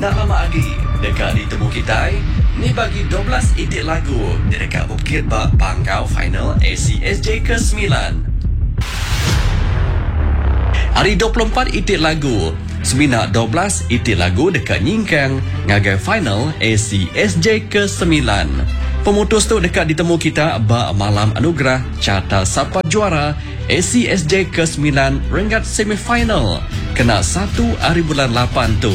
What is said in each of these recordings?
Enda lama agi deka ditemu kitai ni bagi 12 iti lagu ti deka bepekit ba panggau final ACSJ ke semilan. Ari 24 iti lagu, semina 12 iti lagu deka nyingkang ngagai final ACSJ ke semilan. Pemutus tu deka ditemu kita ba Malam Anugerah Carta Sapa Juara ACSJ ke semilan renggat semifinal kena satu ari bulan lapan tu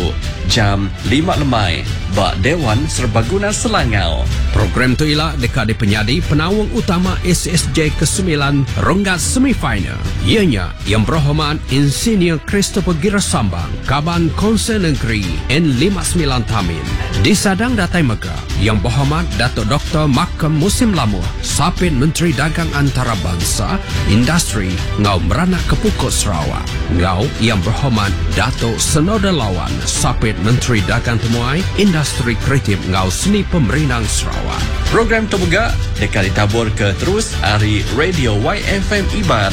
jam lima lemai ba Dewan Serbaguna Selangau. Program tu ila deka dipenyadi penaung utama ACSJ ke semilan renggat semifinal iya nya Yang Berhormat Insinyur Christopher Gira Sambang, Kaban Konsel Nengeri N59 Tamin. Disadang datai mega Yang Berhormat Datuk Doktor Malcolm Musim Lamoh, Sapit Menteri Dagang Antarabansa, Industri enggau Meranak ke Pukuk Sarawak enggau Yang Berhormat Datuk Senoda Lawan, Sapit Menteri Dagang Temuai, Industri Kreatif enggau Seni Pemerindang Sarawak. Program tu mega deka ditaburka terus ari Radio YFM Iban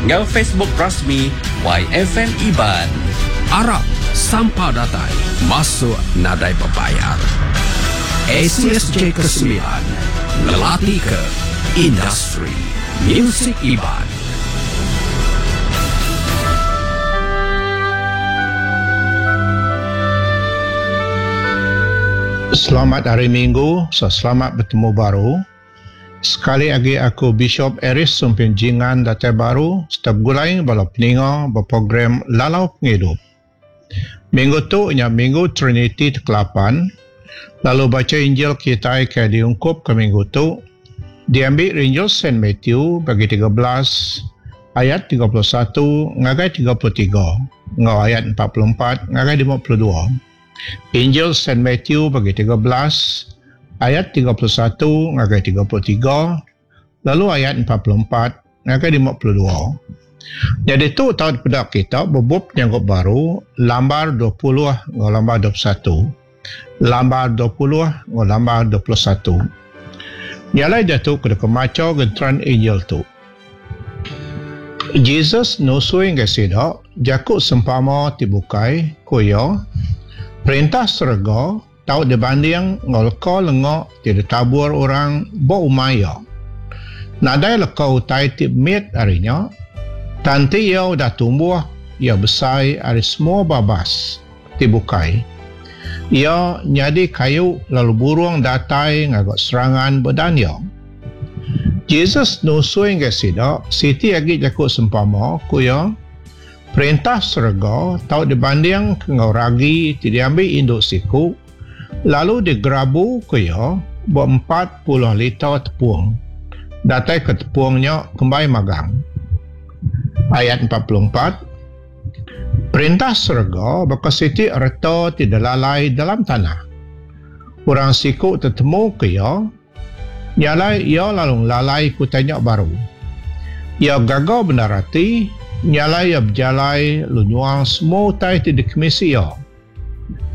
enggau Facebook rasmi YFM Iban. Arap sampal datai masuk nadai bebayar. ACSJ Kesemilan ngelatika industri muzik Iban. Selamat Hari Minggu, so selamat betemu baru. Sekali agi aku Bishop Aris Sumpin Jingan datai baru serta begulai bala peninga ba program Lalau Pengidup. Minggu tu nya Minggu Triniti ti kelapan, lalu bacha Injil kitai ke diungkupka minggu tu diambi ari Injil Saint Matthew bagi 13 ayat 31 ngagai 33 enggau ayat 44 ngagai 52. Injil Saint Matthew bagi 13 ayat 31 ngagai 33 lalu ayat 44 ngagai 52. Nyadi tu tau dipeda kita ba bup Penyanggup Baru lambar 20 enggau lambar 21. Lambar 20 enggau lambar 21. Nya alai diatu ke deka macha genteran Injil tu. Jesus nusui ngagai sida jaku sempama ti bukai, ku iya, Perintah serega tau dibanding enggau leka lenga ti ditabur orang ba umai iya. Nadai leka utai ti mit ari nya, tang enti iya udah tumbuh, iya besai ari semua babas ti bukai. Iya nyadi kayu lalu burung datai ngaga serangan ba dan iya. Jesus nusui ngagai sida siti agi jaku sempama, ku iya, Perintah serega tau dibandingka enggau ragi ti diambi indu siku lalu digerabuka iya ba 40 liter tepung, datai ke tepung nya kembai magang. Ayat 44. Perintah serega baka siti reta ti dilalai dalam tanah. Orang siku tetemuka iya, nya alai iya lalu ngelalai ke utai nya baru. Iya gaga bendar ati, nya alai iya bejalai lalu nyual semua utai ti dikemisi iya.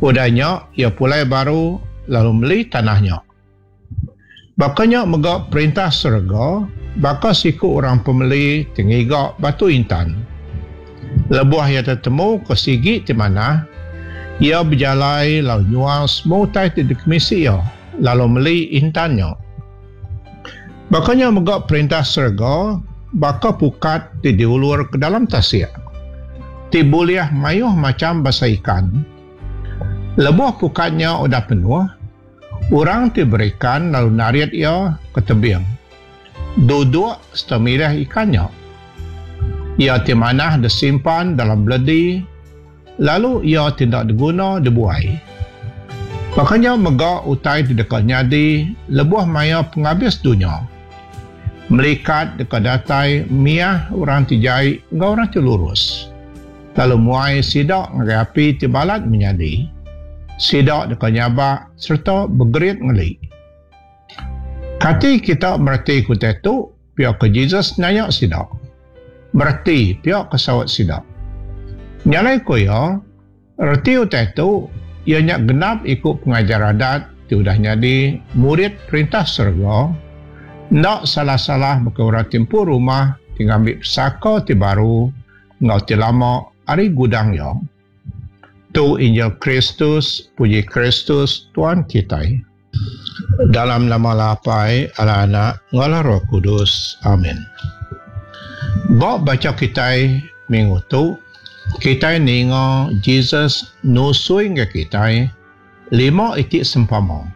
Udah nya, iya pulai baru lalu meli tanah nya. Baka nya mega Perintah serega baka siku orang pemeli ti ngiga batu intan. Lebuh iya tetemuka sigi ti manah, iya bejalai lalu nyual semua utai ti dikemisi iya lalu meli intan nya. Baka nya mega Perintah serega baka pukat ti diulur ke dalam tasik, ti bulih mayuh macham bansa ikan. Lebuh pukat nya udah penuh, Orang ti berikan lalu narit iya ke tebing, duduk sereta milih ikan nya. Iya ti manah disimpan dalam beledi, lalu iya ti enda diguna dibuai. Baka nya mega utai ti deka nyadi lebuh maya pengabis dunya. Melikat deka datai miah orang ti jai enggau orang ti lurus. Lalu muai sida ngagai api ti balat menyadi. Sida deka nyabak sereta begerit ngeli. Kati kita mereti ke utai tu? Pia ku Jesus nanya sida. Mereti, pia ku saut sida. Nya alai ku iya, reti utai tu iya nya genap iku pengajar adat ti udah nyadi murid Perintah Serega, enda salah-salah baka orang ti empu rumah ti ngambi pesaka ti baru enggau ti lama ari gudang iya. Tu Injil Kristus, puji Kristus, Tuan kitai. Dalam nama Allah Apai, Allah Anak, enggau Allah Roh Kudus. Amin. Ba bacha kitai minggu tu, kitai ninga Jesus nusui ngagai kitai lima iti sempama.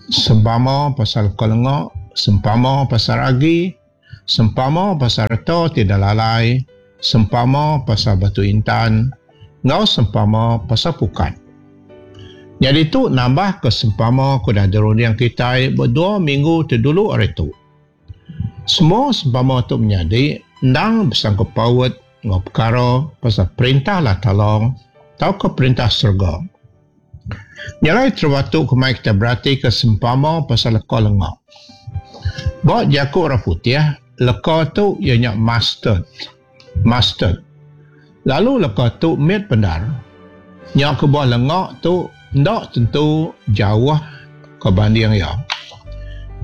Sempama pasal leka lenga, sempama pasal agi, sempama pasal reta ti dalalai, sempama pasal batu intan, enggau sempama pasal pukat. Nyadi tu nambahka sempama ke udah dirunding kitai ba dua minggu ti dulu ari tu. Semua sempama tu menyadi endang besangkut paut enggau pekara pasal Perintah Allah Taala tauka Perintah Serega. Nya alai terubah tu kemai kitai beratika sempama pasal leka lenga. Ba jaku orang putih, leka tu iya nya mustard. Mustard. Lalu leka tu mit bendar. Nya kebuah lenga tu enda tentu jauh ke banding iya.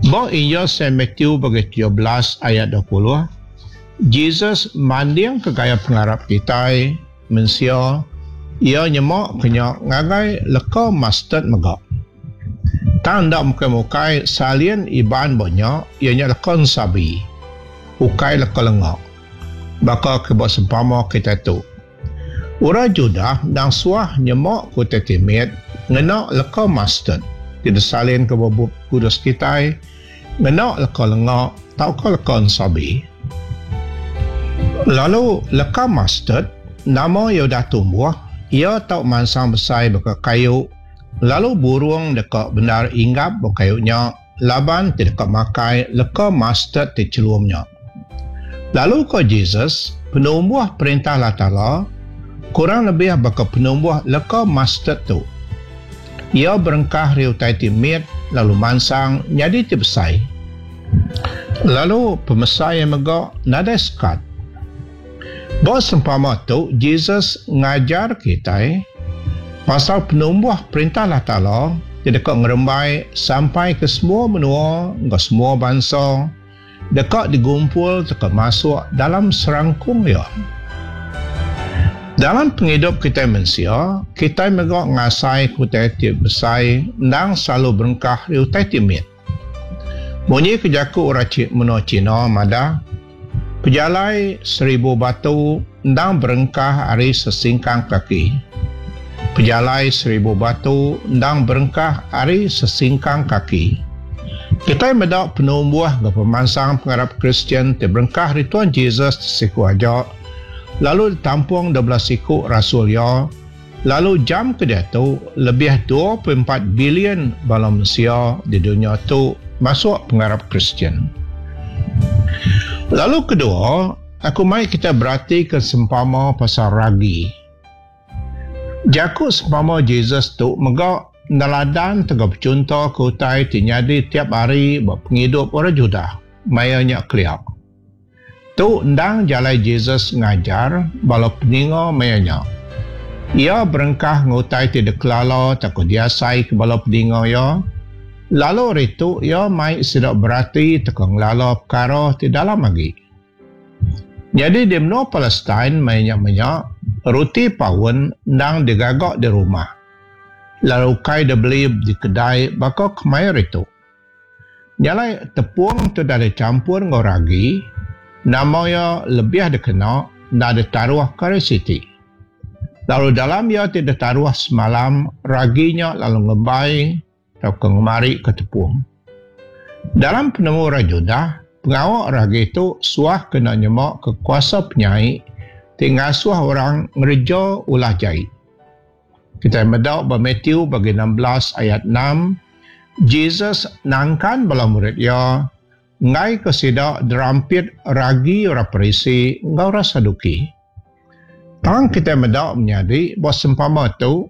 Ba Injil Saint Matthew bagi 17 ayat 20, Jesus mandingka gaya pengarap kitai mensia, iya nyema ke nya ngagai leka mustard mega. Tang enda mukai-mukai salin Iban ba nya iya nya leka ensabi, ukai leka lenga. Baka ke ba sempama kitai tu. Orang Judah endang suah nyema ke utai ti mit ngena leka mustard ti disalin ke ba Bup Kudus kitai ngena leka lenga tauka leka ensabi. Lalu leka mustard nama iya udah tumbuh, iya tau mansang besai baka kayu, lalu burung deka bendar inggap ba kayu nya laban ti deka makai leka mustard ti chelum nya. Lalu ko Jesus, Penumbuh Perintah Allah Taala kurang lebih baka penumbuh leka mustard tu. Iya berengkah ari utai ti mit lalu mansang nyadi ti besai. Lalu pemesai iya mega nadai sekat. Ba sempama tu, Jesus ngajar kitai pasal penumbuh Perintah Allah Taala ti deka ngerembai sampai ke semua menua enggau semua bansa deka digumpul tauka masuk dalam serangkung iya. Dalam pengidup kitai mensia, kitai mega ngasaika utai ti besai endang selalu berengkah ari utai ti mit. Munyi ke jaku orang menua China madah, pejalai seribu batu endang berengkah ari sesingkang kaki. Pejalai seribu batu endang berengkah ari sesingkang kaki. Kitai meda penumbuh enggau pemansang pengarap Kristian ti berengkah ari Tuan Jesus ti siku aja lalu ditampung 12 iku rasul iya, Lalu jam ke diatu, lebih 24 bilion bala mensia di dunya tu masuk pengarap Kristian. Lalu kedua, aku mai kita beratika sempama pasal ragi. Jaku sempama Jesus tu mega neladan tauka bechunto ke utai ti nyadi tiap hari ba pengidup orang Judah maya nya kelia. Tu endang jalai Jesus ngajar bala peninga maya nya. Iya berengkah enggau utai ti dikelala tauka diasaika bala peninga iya, lalu ari tu iya mai sida berati tauka ngelala pekara ti dalam agi. Nyadi di menua Palestin maya nya menya, roti paun endang digaga di rumah, lalu ukai dibeli di kedai baka kemaya hari tu. Nya alai tepung tu udah dichampur enggau ragi, nama iya lebih dikena enda ditaruh ke hari siti. Lalu dalam iya ti ditaruh semalam, ragi nya lalu ngembai tauka ngemarika tepung. Dalam penemu orang Judah, pengawa ragi tu suah kena nyemaka kuasa penyai ti ngasuh orang ngereja ulah jai. Kitai meda ba Matthew bagi 16 ayat 6, Jesus nangkan bala murid iya enggaika sida derampit ragi orang Parisi enggau orang Saduki. Tang kitai meda menyadi ba sempama tu,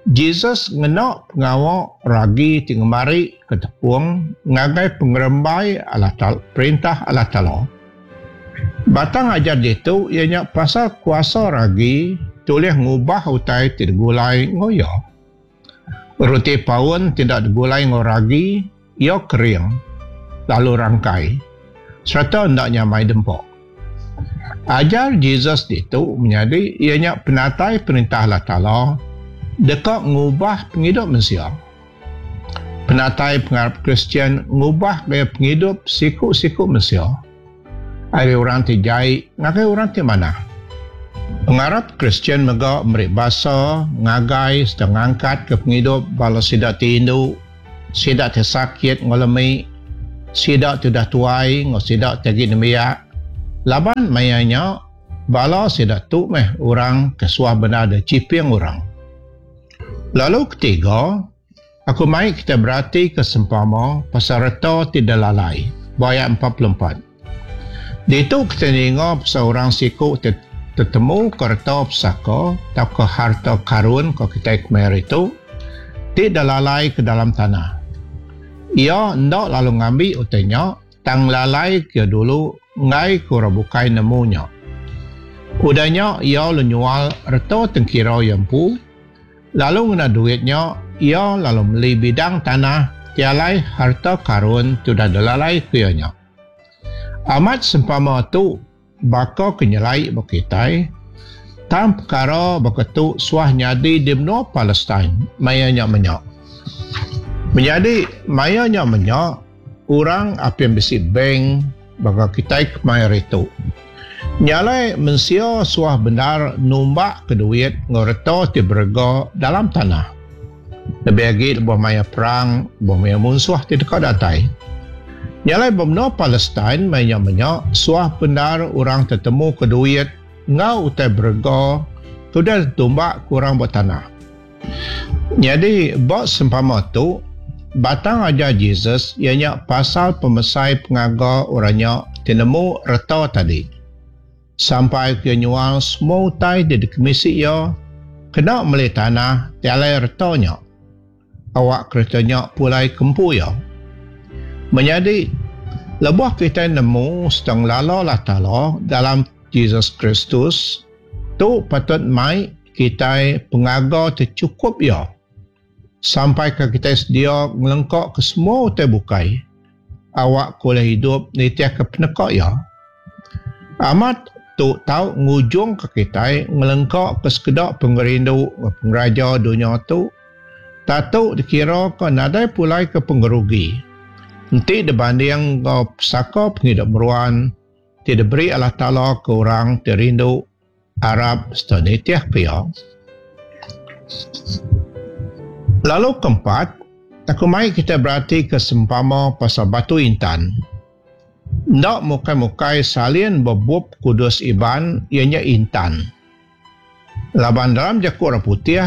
Jesus ngena pengawa ragi ti ngemari ke tepung ngagai pengerembai Allah Taala, Perintah Allah Taala. Batang ajar ditu iya nya pasal kuasa ragi ti ulih ngubah utai ti digulai enggau iya. Roti paun ti enda digulai enggau ragi, iya kering lalu rangkai sereta enda nyamai dempa. Ajar Jesus ditu menyadi iya nya penatai Perintah Allah Taala deka ngubah pengidup mensia. Penatai pengarap Kristian ngubah gaya pengidup siku-siku mensia ari orang ti jai ngagai orang ti manah. Pengarap Kristian mega meri basa ngagai sereta ngangkatka pengidup bala sida ti indu, sida ti sakit enggau lemi, sida ti udah tuai enggau sida ti agi nembiak, laban maya nya bala sida tu meh orang ke suah bendar diciping orang. Lalu ketiga, aku mai kita beratika sempama pasal reta ti dilalai ba ayat 44. Ditu kita ninga pasal orang siku ti tetemuka reta pesaka tauka harta karun ko kitai kemaya hari tu ti dilalai ke dalam tanah. Iya enda lalu ngambi utai nya tang ngelalai ke dulu enggai ke orang bukai nemu nya. Udah nya iya lalu nyual reta tengkira iya empu lalu ngena duit nya iya lalu meli bidang tanah ti alai harta karun ti udah dilalai ke iya nya. Amat sempama tu baka ke nyelai ba kitai, tang pekara baka tu suah nyadi di menua Palestine maya nya menya. Menyadi maya nya menya, orang apin bisi bank baka kitai kemaya hari tu. Nya alai mensia suah bendar numbakka duit enggau reta ti berega dalam tanah. Lebih agi lebuh maya perang, lebuh maya munsuh ti deka datai. Nya alai ba menua Palestine maya nya menya suah bendar orang tetemuka duit enggau utai berega ke udah ditumbakka orang ba tanah. Nyadi ba sempama tu, batang ajar Jesus iya nya pasal pemesai pengaga orang nya ti nemu reta tadi. Sampai ke iya nyual semua utai ti dikemisi iya kena meli tanah ti alai reta nya. Awak kereta nya pulai ke empu iya. Menyadi, lebuh kitai nemu sereta ngelala Allah Taala dalam Jesus Kristus, tu patut mai kitai pengaga ti chukup iya sampaika kitai sedia ngelengkaka semua utai bukai awakka ulih idup nitihka peneka iya. Amat, tu tau ngujungka kitai ngelengkaka sekeda pengerindu enggau pengeraja dunya tu, tatu dikiraka nadai pulai ke pengerugi enti dibanding enggau pesaka pengidup meruan ti diberi Allah Taala ke orang ti rindu arap sereta nitihka Iya. Lalu keempat, aku mai kitai beratika sempama pasal batu intan. Enda mukai-mukai salin ba Bup Kudus Iban iya nya intan. Laban dalam jaku orang putih,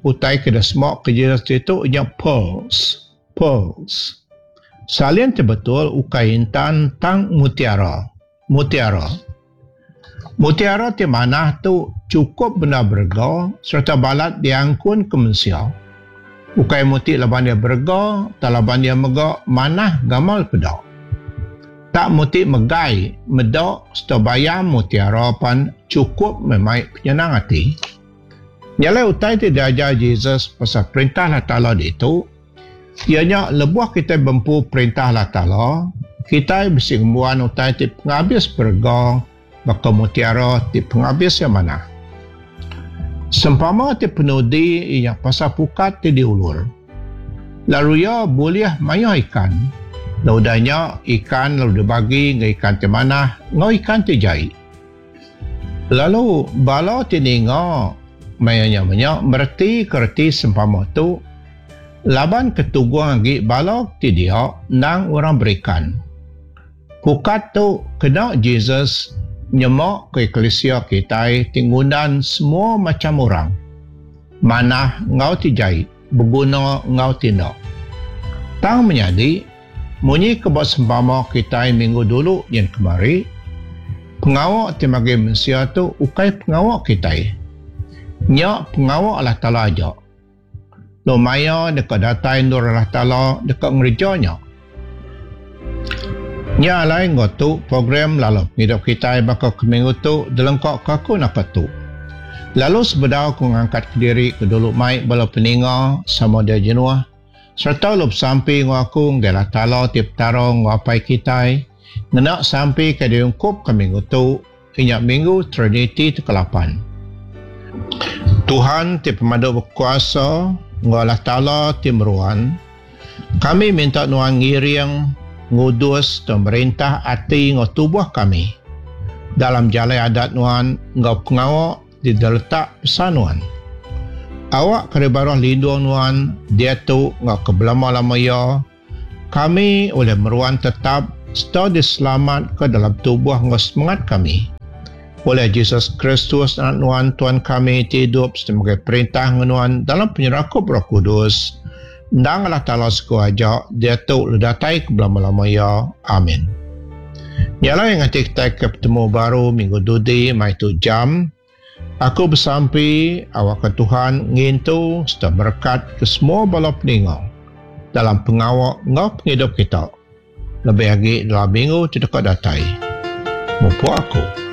utai ke disema ke Jesus ditu nya pearls, pearls. Salin ti betul ukai intan tang mutiara, mutiara. Mutiara ti manah tu chukup bendar berega sereta balat diangkunka mensia. Ukai muti laban iya berega tang laban iya mega manah gamal peda. Tak muti megai, meda sereta bayam mutiara pan chukup meh mai penyenang ati. Nya alai utai ti diajar Jesus pasal Perintah Allah Taala ditu, Iya nya lebuh kitai bempu Perintah Allah Taala, kitai bisi ngembuan utai ti pengabis berega baka mutiara ti pengabis iya manah. Sempama ti penudi iya nya pasal pukat ti diulur. Lalu iya bulih mayuh ikan. Lalu udah nya ikan lalu dibagi enggau ikan ti manah enggau ikan ti jai. Lalu bala ti ninga maya nya menya meretika reti sempama tu laban ke tugung agi bala ti dia endang orang berikan. Pukat tu kena Jesus nyema ke eklisia kitai ti ngundan semua macham orang, manah enggau ti jai, beguna enggau ti enda. Tang menyadi, Munyi ke ba sempama kitai minggu dulu nyin kemari, pengawa ti magi mensia tu ukai pengawa kitai. Nya pengawa Allah Taala aja. Lalu maya deka datai endur Allah Taala deka ngereja nya. Nya alai enggau tu program lalu pengidup kitai baka ke minggu tu dilengkaka aku naka tu. Lalu sebedau aku ngangkatka diri ke dulu mai bala peninga sama dia jenuh, Sereta lalu besampi enggau aku ngagai Allah Taala ti Petara enggau Apai kitai, ngena sampi ke diungkupka minggu tu, inya minggu Triniti ti kelapan. Tuhan ti pemadu bekuasa enggau Allah Taala ti meruan, kami minta Nuan ngiring, ngudus tau merintah ati enggau tubuh kami dalam jalai adat Nuan enggau pengawa ti diletak pesan Nuan. Awak ke dibaruh lindung Nuan diatu enggau ke belama-lama iya, Kami ulih meruan tetap sereta diselamatka dalam tubuh enggau semengat kami. Ulih Jesus Kristus Anak Nuan, Tuan kami, ti idup sereta megai perintah enggau Nuan dalam penyerakup Roh Kudus, endang Allah Taala siku aja, diatu lalu datai ke belama-lama iya. Amin. Nya alai nganti kitai ke betemu baru minggu dudi mai tu jam, Aku besampi awakka Tuhan ngintu sereta merekatka semua bala peninga dalam pengawa enggau pengidup kita, lebih agi dalam minggu ti deka datai. Mupuk aku.